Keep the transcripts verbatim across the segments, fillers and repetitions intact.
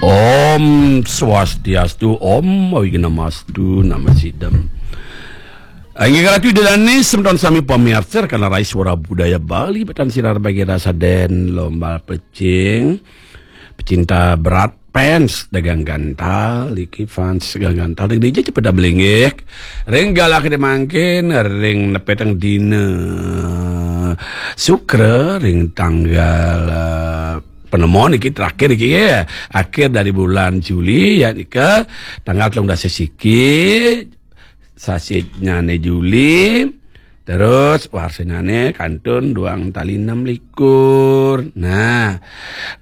Om Swastiastu, Om Awighnamastu, Namasidam. Inggih kalatu Ida Dané, semeton sami pamiarsa Rekanan Rai Suara Budaya Bali, batan sinar bagi rasa den lombal pecing, pecinta berat, fans dagang gantal, iki fans dagang gantal, ring dija cepet dah belinggih, ring galah kedé mangkin, ring nepeteng dina Sukra, ring tanggal, eh, penemon iki terakhir iki ya, akhir dari bulan Juli ya, nika tanggal telung dasa siki, sasitnyané Juli, terus warsanyané kantun duang tali enam likur. Nah,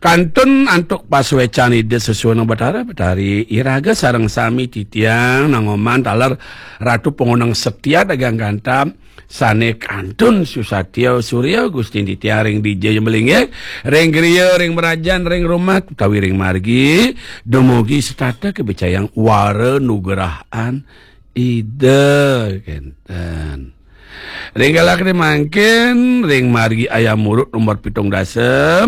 kantun antuk pasuécan Ida Sesuhunan Batara, Batari iraga sareng sami titiang nangoman taler Ratu Pangoneng Setia dagang gantal, sané kantun susatya surya Gusti titiang ring dija ya melinggih, ring griya, ring mrajan, ring rumah, utawi ring margi, dumugi setata kabicayang wara nugrahan Ida kénten. Ring galah kedé mangkin, ring margi Ayam Urut nomor pitung dasa,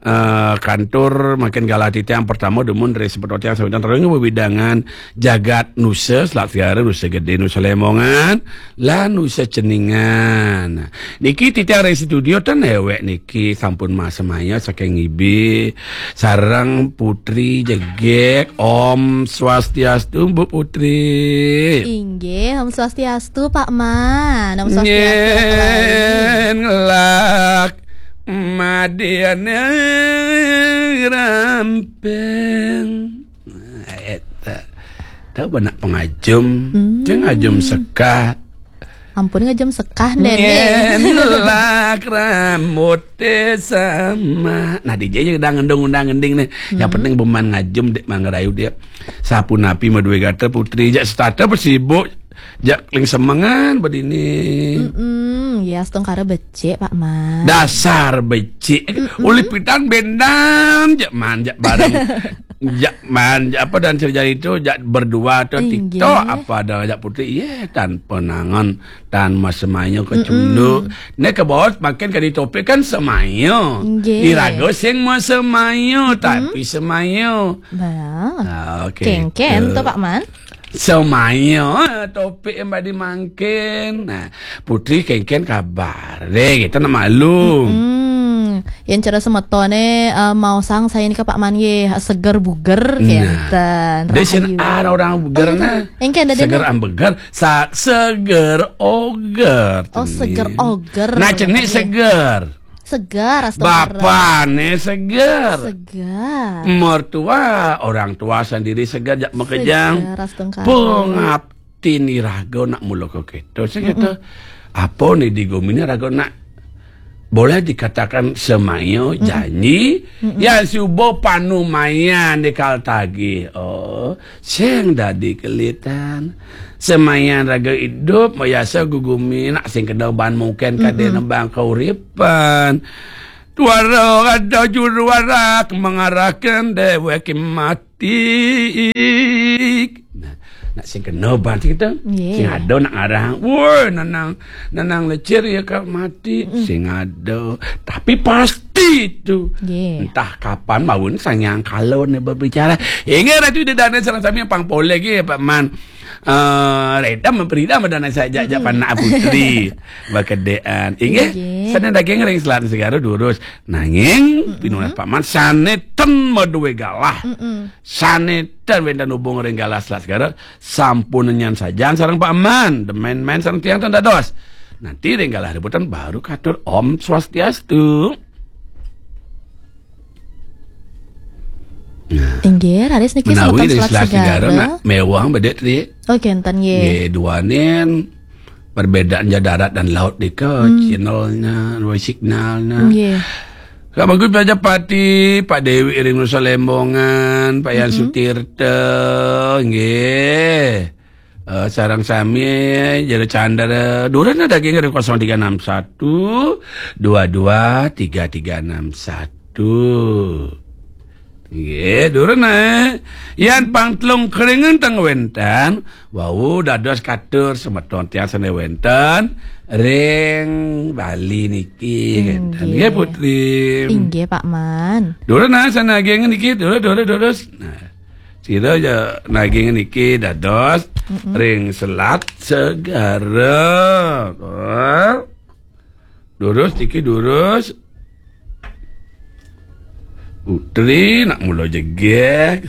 eh, kantun mangkin galah titiang pertama dumun ring semeton tiang sawidan ring wewidangan jagat Nusa, Selat Segara, Nusa Gedé, Nusa Lembongan, lan Nusa Ceningan. Niki titiang ring studio ten ewek niki sampun masemaya saking Ibi sareng Putri Jegek. Om Swastiastu, Bu Putri. Inggih, Om Swastiastu, Pak Man. Om Swastiastu, Pak Rai. Nyén ngelak madiane ramping. Nah, éta. Tahu benak pengajum. Hmm. Ceng ajum sekah. Ampun, ngajum sekah, Déné. Nyén lak rambuté sama. Nah, dija ya undang-unding nih. Yang penting beman ngajum, dék, mangerayu dia. Sapunapi madué gatra Putri, jak setata pasibuk, jak ling semengan badini. Mm-mm, ya, astungkara becik, Pak Man. Dasar becik. Mm-mm. Ulih pidan bendan, jak man, jak bareng. Jak man, jak apa dan cerita itu, jak berdua atau TikTok, apa ada jak Putri, iya, tan panangan, tan masemaya kecunduk. Né ke bawah makin kali topik kan semaya. Nggih. Iraga sing masemaya, tapi semaya. Bah. Ah, oke. Kéngkén to, Pak Man. Semaya topik yang badi mangkin. Nah, Putri kéngkén kabar. Deh, kita nak maklum. Hmm, yang cara semetoné, eh, mau sang saya nika Pak Man nggih, seger buger. Nah, kénten. Deh, sing rahayu. Ada orang buger, oh, iya, nah. Éngkén, dadi seger ambeger, sa-, seger oger. Oh, seger oger. Nah, cenik seger. Segar, astungkara. Bapané seger. Segar. Mertua, orang tua sendiri seger, jak makejang. Segar, astungkara. Pengabdi iraga nak mula ka kéto. Sing kéto, apa né di guminé raga nak boleh dikatakan semaya janji, yang suba panumayan di kal tagih. Oh, sing dadi kelitan. Semayan raga idup, mayasa gugumi, nak sing kena ban mungkin kadé nembang kauripan. Tuara ada juru warak mengarahkan dewek mati. Nah, nak sing kena ban sing kita. Nggih. Sing ada nak ngarang. Woi, nanang, nanang lecir ya kak mati. Sing ada. Tapi pasti itu. Nggih. Entah kapan mawon sanyang kalon berbicara. Ingat Ratu Ida Dané sareng sami pang polek ya, Pak Man. Eh, reda memperida madana saja, jak panak Putri. Bakedéan. Inggih, sané daging ring Selat Segara durus. Nanging, pinunas Pak Man sané ten madué galah. Sané ten wénten hubung ring galah Selat Segara, sampun nyan sajan sareng Pak Man. Demen-men sareng tiang ten dados. Nanti ring galah rebutan baru katur Om Swastiastu. Nah. Inggih, raris niki menawi semeton dari Selat Selat Segara, Segara nak mewah bedek tadi. Oh, kénten nggih. Nggih, duaning perbedaan ja darat dan laut nika, channelnya, dua signalnya. Nggih. Kak Bagus Prajapati, Pak Dewi ring Nusa Lembongan, Pak Yan Sutirta, nggih. Eh, sareng sami, Jero Candra, duren daging ring kosong tiga enam satu, dua dua tiga tiga enam satu. Nggih, durus nah. Yan pang telung kringan teng wenten, wau dados katur semeton tiang sane wenten ring Bali niki, ngeten. Nggih, Putri. Inggih, Pak Man. Durus nah, sane naging niki, durus, durus, durus. Nah, sira ya naging niki dados ring Selat Segara. Durus niki, durus. Putri nak mula jegeg.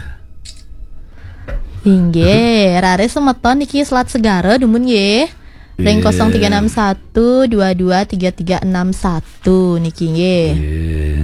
Inggih, raris semeton niki Selat Segara dumun nggih. Ring Nggih. kosong tiga enam satu dua dua tiga tiga enam satu niki nggih. Nggih.